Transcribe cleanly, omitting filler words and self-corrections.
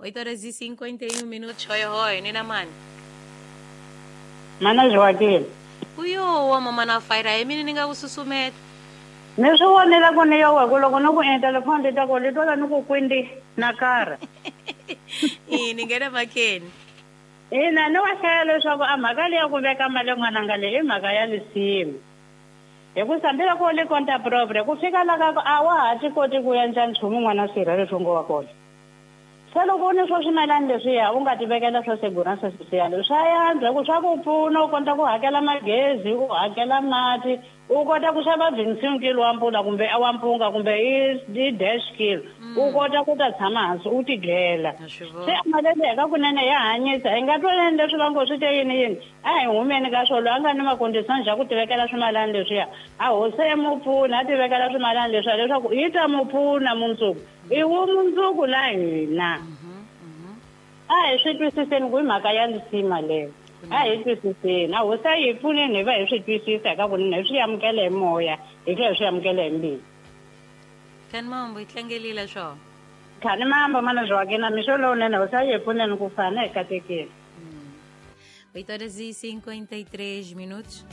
8 horas e 51 minutos. Hoi hoi, nina mani. Mana Joaquim. Uyo wa mama na faira hi mina ni nga ku susumeta. Ni swi vonela ku ni yo ku loko ni ku endla telefoni ti ta ku li twala ni ku kwindi na kara. Ni nghena makeni. Ina ni wa hlaya leswaku a mhaka leyi ya ku veka mali n'wananga leyi i mhaka ya lisimu. Hikusa hambiloko u li konta propre ku fika la ka ku a wa ha ti koti ku endla nchumu n'wana sirha leswi ngo wa kona. Se loko u ni swo swimalani leswiya u nga ti vekela swo segurança social swa yantswa hi ku swa ku pfuna u kota ku hakela magezi u hakela mati u kota ku xava 25 kilo wa mpfula kumbe wa mpunga kumbe i dash kilo u kota ku ta tshama hansi u ti dlela. Se mali leyi ka kunene ya hanyisa hi nga twanani leswi va ngo swi te yini yini a hi humeni ka swona loyi a nga ni makondisani xa ku tivekela swimalani leswiya a hosi ya mu pfuna a tivekela swimalani leswiya leswaku yi ta mu pfuna mundzuku i vumundzuku la hina. A hi swi twisiseni ku i mhaka ya lisima leyo. A hi twisiseni. A hosi a yi hi pfuneni hi va hi swi twisisa hi ka kunene hi swi amukela hi moya hi tlhela hi swi amukela hi mbilu. Khani mambo hi tlangelile swona. Khani mambo mana Joaquina mixo lowunene hosi a yi hi pfuneni ku fana hi katekile. 8 horas e 53 minutos.